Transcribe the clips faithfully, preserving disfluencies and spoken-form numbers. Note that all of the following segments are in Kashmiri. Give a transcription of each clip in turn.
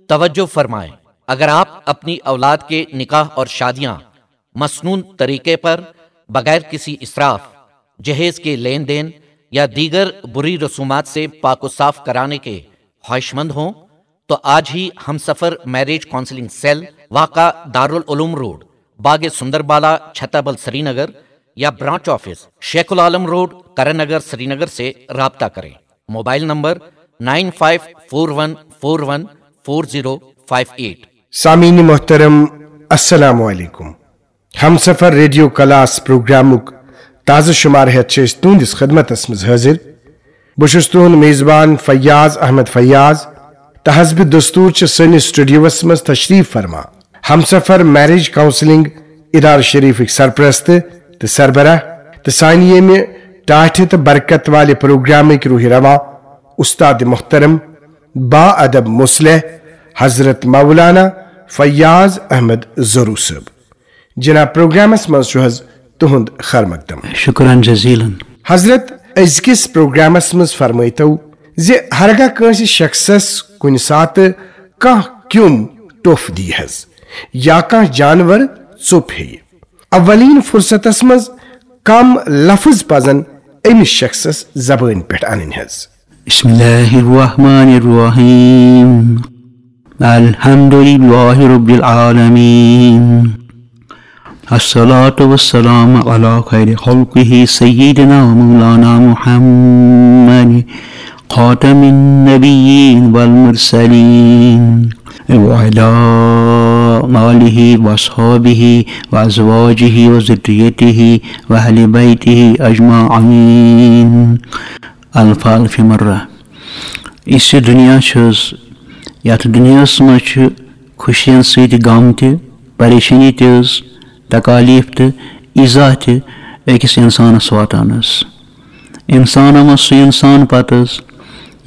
توجہ فرمائیں، اگر آپ اپنی اولاد کے نکاح اور شادیاں مسنون طریقے پر، بغیر کسی اسراف، جہیز کے لین دین یا دیگر بری رسومات سے پاک و صاف کرانے کے خواہش مند ہوں تو آج ہی ہم سفر میرج کاؤنسلنگ سیل، واقع دارالعلوم روڈ، باغ سندر بالا، چھتابل، سری نگر، یا branch office, Sheikh ul Alam road, Karan Nagar, Srinagar سے رابطہ کریں۔ Mobile number nine five four one four one four zero five eight. سامعین محترم، السلام علیکم۔ ہمسفر ریڈیو کلاس پروگرامک تازٕ شمارٕ ہیتھ چھِ أسۍ تُہنٛدِس خدمتس منٛز حٲضِر۔ بہٕ چھُس تُہنٛد میزبان فیاض احمد فیاض، تہٕ حسب دستور چھِ سٲنِس سٹوڈیوس منٛز تشریف فرما ہمسفر میرج کاؤنسلنگ ادارٕ شریفٕکۍ سرپرست تہٕ سربراہ، تہٕ سانہِ ییٚمہِ ٹاٹھہِ تہٕ برکت والہِ پروگرامٕکۍ روح رواں، استاد محترم، با ادب مصلح، حضرت مولانا فیاض احمد زرو صٲب۔ جناب، پروگرامس منٛز چھُ حض تُہُنٛد خیر مقدم۔ شکران جزیلا۔ حضرت، أزکِس پروگرامس منٛز فرمٲیتو زِ ہرگاہ کٲنٛسہِ شخصس کُنہِ ساتہٕ کانٛہہ کیوٚم ٹوٚپھ دی حض یا کانٛہہ جانور ژوٚپ ہیٚیہِ، اولین فرصتس منٛز کم لفظ پزن أمِس شخصس زبٲنۍ پٮ۪ٹھ انٕنۍ حض؟ بسم الله الرحمن الرحيم. الحمد لله رب العالمين. الصلاة والسلام على خير خلقه سيدنا ومولانا محمد خاتم النبيين والمرسلين وعلى آله وأصحابه وأزواجه وذريته وأهل بيته أجمعين. الفال فی مرہ۔ یُس یہِ دُنیا چھُ حض، یَتھ دُنیاہَس منٛز چھِ خوشیَن سۭتۍ غم تہِ، پریشٲنی تہِ حض، تکالیٖف تہِ، ایٖزا تہِ أکِس اِنسانَس واتان حض۔ اِنسانَن منٛز سُہ اِنسان پَتہٕ حض،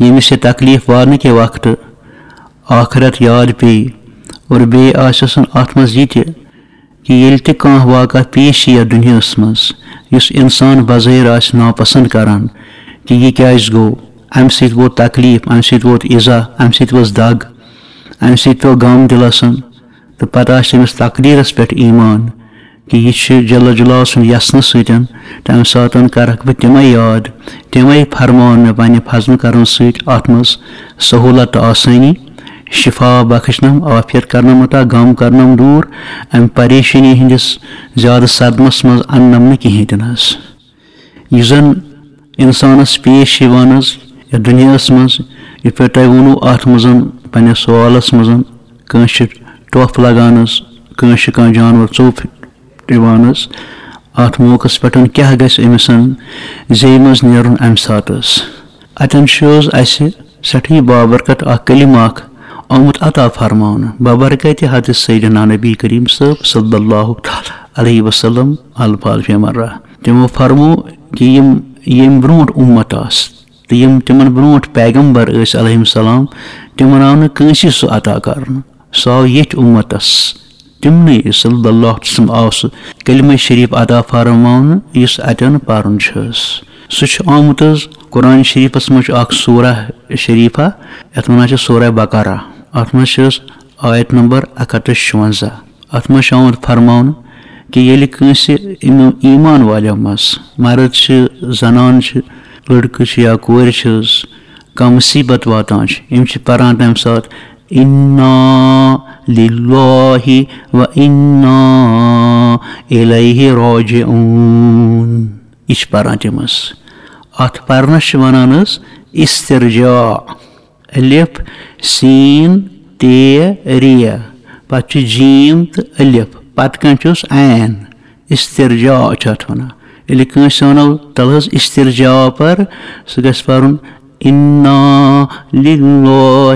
ییٚمِس یہِ تکلیٖف واتنہٕ کہِ وقتہٕ آخرت یاد پیٚیہِ اور بیٚیہِ آسٮ۪س نہٕ اَتھ منٛز یہِ تہِ کہِ ییٚلہِ تہِ کانٛہہ واقعہ پیش یی یَتھ دُنیاہَس منٛز، یُس اِنسان بظٲہِر آسہِ ناپسنٛد کران کہِ یہِ کیٛازِ گوٚو، اَمہِ سۭتۍ ووت تکلیٖف، اَمہِ سۭتۍ ووت ایٖزا، اَمہِ سۭتۍ ؤژھ دگ، اَمہِ سۭتۍ پیوٚو غم دِلَس، تہٕ پتہٕ آسہِ تٔمِس تقدیٖرَس پٮ۪ٹھ ایٖمان کہِ یہِ چھُ جل جلال سُنٛد یژھنہٕ سۭتۍ، تَمہِ ساتہٕ کرکھ بہٕ تِمَے یاد، تِمَے فرمان مےٚ پنٛنہِ فضلہٕ کرم سۭتۍ اَتھ منٛز سہوٗلت تہٕ آسٲنی، شفا بخشنم، عافیت کرنم عطا، غم کرنم دوٗر، امہِ پریشٲنی ہٕنٛدِس زیادٕ صدمس منٛز اننم نہٕ کِہیٖنۍ تہِ نہٕ حظ۔ یُس زن انسانس پیش چھِ یِوان حظ یتھ دُنیاہس منٛز، یِتھ پٲٹھۍ تۄہہِ ووٚنوُ اتھ منٛز پننِس سوالس منٛز، کٲنٛسہِ چھِ ٹۄپھ لگان حظ، کٲنٛسہِ چھِ کانٛہہ جانور ژوٚپ یِوان حظ، اتھ موقعس پٮ۪ٹھ کیٛاہ گژھِ أمِس زیٚیہِ منٛز نیرُن امہِ ساتہٕ حظ؟ اتٮ۪ن چھُ حظ اسہِ سٮ۪ٹھٕے بابرکت اکھ کلمہٕ اکھ آمُت عطا فرماونہٕ، بابرکت حضرت سیدنا نبی کریم صٲب صلی اللہ تعالیٰ علیہ وسلم الفاظ فی مرہ۔ تِمو فرمو کہِ یِم ییٚمہِ برونٛٹھ اُمت آسہٕ تہٕ یِم تِمن برونٛٹھ پیغمبر ٲسۍ علیہم السلام، تِمن آو نہٕ کٲنٛسی سُہ عطا کرنہٕ، سُہ آو ییٚتھۍ اُمتس۔ تِمنٕے صلی اللہ علیہ وسلم آو سُہ کلمہ شریف عطا فرماونہٕ یُس اتٮ۪ن پرُن چھُ حظ۔ سُہ چھُ آمُت حظ قرآن شریفس منٛز چھُ اکھ سورہ شریفہ، یتھ ونان چھِ سورہ بقرہ۔ اتھ منٛز چھِ حظ آیت نمبر اکھ ہتھ تہٕ شُونزہ۔ اتھ منٛز چھُ آمُت فرماونہٕ کہِ ییٚلہِ کٲنٛسہِ یِمو ایمان والیو منٛز مرد چھِ، زنان چھِ، لڑکہٕ چھِ یا کورِ چھِ حظ کانٛہہ مصیبت واتان چھِ، یِم چھِ پران تمہِ ساتہٕ انا للہ و انا الیہ راجعون۔ یہِ چھِ پران تِم حظ۔ اتھ پرنس چھِ ونان حظ استرجاع۔ الف، سین، تے، ریہ، پتہٕ چھُ جیم تہٕ الف، پتہٕ کَنہِ چھُس عین۔ استرجاع چھُ اتھ ونان۔ ییٚلہِ کٲنٛسہِ ونو تلہٕ حظ استرجاع پر، سُہ گژھِ پرُن انا للہ